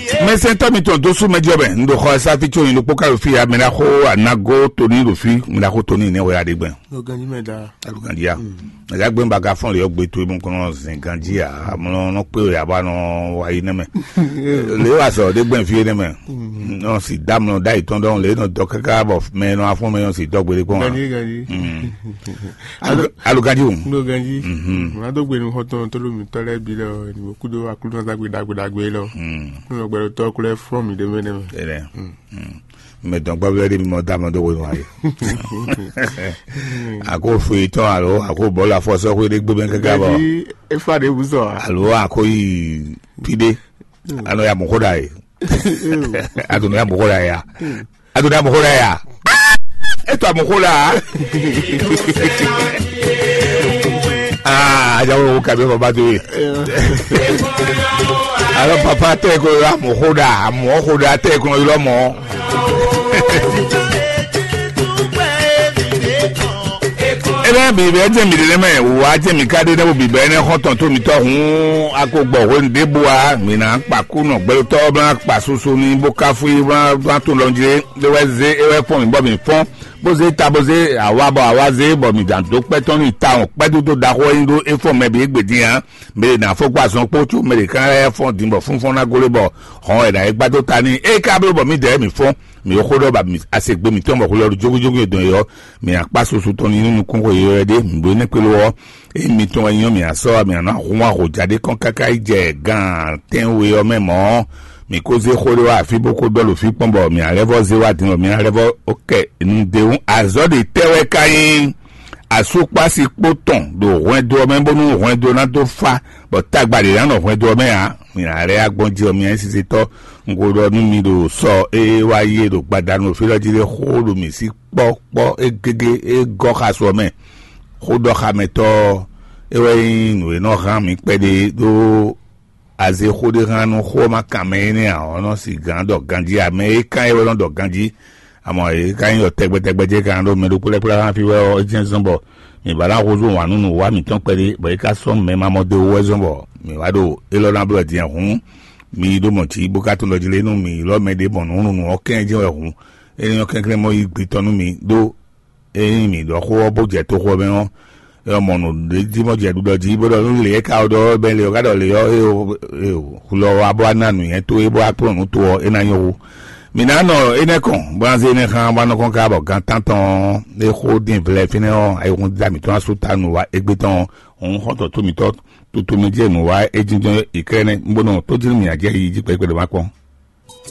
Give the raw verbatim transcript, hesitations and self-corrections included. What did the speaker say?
Mɛsɛntɔ́ mitɔn dó sú mɛjɔ mɛ, un ɖo xɔ ɛ sáfí tso nyi ɖokpó ká ɖo fí ya, mɛ ná xó anago tóní ɖo fí, mɛ ná xó tóní nɛ́ wɛ ya ɖe gbɛn. Lɔgán jí mɛ da. Alugandi ya. Ɛgá gbɛn ba ka fɔn lè yɔ gbe to imú kɔnɔ zɛn ganji ya, amlɔ nɔ kpé ya ba nɔ wa yi nɛmɛ. Lè wa sɔ ɖe gbɛn fie nɛmɛ. Nɔ si da mlɔ da yi tɔn dɔn lè nɔ dɔ kaka bɔ mɛ nɔ afɔ mɛ nɔ si dɔ gbede kpɔn. Ganji ganji. Alugandi o. Lɔgán jí. Má dó gbenu xɔtɔn tó lómi tɔlɛ bi lɔ ni mo kudo aklúnɔ dagbe dagbe dagbe lɔ. Kúnɔ gbɛdɔ tɔ kulɛ fɔn mi ɖe mɛ nɛmɛ. Ɛnɛ. Mɛ dɔn gbɔ bɛ ɖe mi mɔ da mɔ dó wenu ayi. Ako fui tɔn alo ako bɔlu afɔsɔ ko ɖe gbɛmɛ kaka bɔ. Efa ɖe wuzɔ a. Alo ako yi pi ɖe. Anɔ ya mɔxɔ ɖa yi. Adunu ya mɔxɔ ɖa ya. Adunu ya mɔxɔ ɖa ya. Eto amɔxɔ la. Aa ajawo wo kabi baba to ye. Alo papa tɛ ko amɔxɔ ɖa amɔxɔ ɖa tɛ ko yɔlɔ mɔ. Ebe bibɛ jɛ mi ɖe mɛ wa jɛ mi ka ɖe ne wo bibɛ ne xɔtɔn to mi tɔ hun ako gbɔ hwe ɖe bua mi na kpa ku nɔ gbɛtɔ bla kpa susu ni bo ka fu yi bla bla to lɔ jɛ de wɛ ze e wɛ fɔn mi bɔ mi fɔn bo ze ta bo ze awa bɔ awa ze bɔ mi dan do kpɛ tɔn ni ta wɔn kpɛ do do da xɔ yi do e fɔn mɛ bi egbe din ya. Mɛ de na fɔ gba zɔn kpo tso mɛ de kan lɛ fɔn din bɔ funfɔn na gole bɔ hɔn wɛ na e gba do ta ni e ka blo bɔ mi dɛ mi fɔn mi xo ɖɔ ba mi ase gbe mi tɔn bɔ xo lɔ jogojogo dɔn yɔ mi akpa susu tɔn ni nukun xo yɔ ɖe mi bo ne kpelo wɔ e mi tɔn wɛ nyɔ mi asɔ mi ana hun wa ho ja ɖe kɔn kaka yi jɛ gan tɛn we ɔ mɛ mɔ mi ko ze xo ɖe wa afi bo ko dɔ lo fi kpɔn bɔ mi alɛ vɔ ze wa din bɔ mi alɛ vɔ o kɛ nu de wu azɔ de tɛ wɛ ka nyi. Asukpasi kpo tɔn ɖo hwɛndo ɔ́ mɛ bónú hwɛndo ná dó fá, bɔ tagba ɖě ná nɔ hwɛndo ɔ́ mɛ ǎ. Mi ná lɛ́ agbɔn jí ɔ́, mi ayísísítɔ́, un ko ɖɔ nú mi ɖo sɔ e wá yi e ɖo gbadanu ɖo fí lɔ jí lé xó ɖo mǐ sí kpɔ́kpɔ́ e gégé e gɔ́ xasu ɔ́ mɛ. Xó ɖɔ xamɛtɔ́ ɔ́, é wɛ nyí nǔ e nɔ hán mǐ kpɛɖé ɖó aze xó ɖé hán nú xó ɔ́ ma kan mɛ énɛ́ ǎ ɔ́ nɔ sigǎn ɖɔ ganjí ǎ. Mɛ e kán é wɛ nɔ ɖɔ ganjí. Amɔ yě ká nyí ɖɔ tɛgbɛtɛgbɛ jɛ́n kan ɖó mɛ ɖokpó lɛ́ɛ kplá xá fí wɛ ɔ́, é jɛ́n zɔ́n bɔ mǐ ba ná húzú wǎn nú nǔwiwa mǐtɔn kpɛɖé, bɔ é ká sɔ́ mɛ ma mɔ do wú wɛ zɔ́n bɔ mǐ wá ɖo élɔ́ ná blɔ́ din ǎ. Hǔn mi yi ɖó mɔ jǐ bó ka tunwun ɖɔ jí lé nú mǐ ylɔ́ mɛ ɖě mɔ nǔ nú nǔ ɔ́ kɛ́n jɛ́n wɛ hǔn. É nyɔ́ kɛnklɛ́n mɔ yí gbe tɔn nú mi ɖó ényí mǐ ɖɔ xó ɔ́ bó jɛ toxo ɔ́ mɛ ɔ́, é wɛ mɔ nǔ ɖé jí mɔ jɛ ɖuɖɔ jí bó ɖɔ nú lě e ka wɛ ɖɔ ɔ́ bɛ́ lě ɔ́ ká ɖɔ lě ɔ́, éyo éyo hulɔ ɔ́ wá bó wá ná nǔnywɛ́ towe bó wá kplɔ́n nǔ to ɔ́, é ná nyɔ́ hú. Mǐ ná nɔ énɛ́ kɔn, bó ná zé énɛ́ xá bó ná nɔ kɔn ká bɔ gan tántɔn ɔ́, é xó dín vlɛ́ fínɛ́ ɔ́, ayihún da mǐtɔn ná sú ta nǔ wá égbé tɔn ɔ́, hǔn xɔ́ntɔn tó mǐtɔn tutu mɛ jɛ nǔ wá é jínjɔ́n Iklɛ́nɛ, bó nɔ tó jí nú mǐ ná jɛ yi jí kpɛɖé kpɛɖé má kpɔ́n.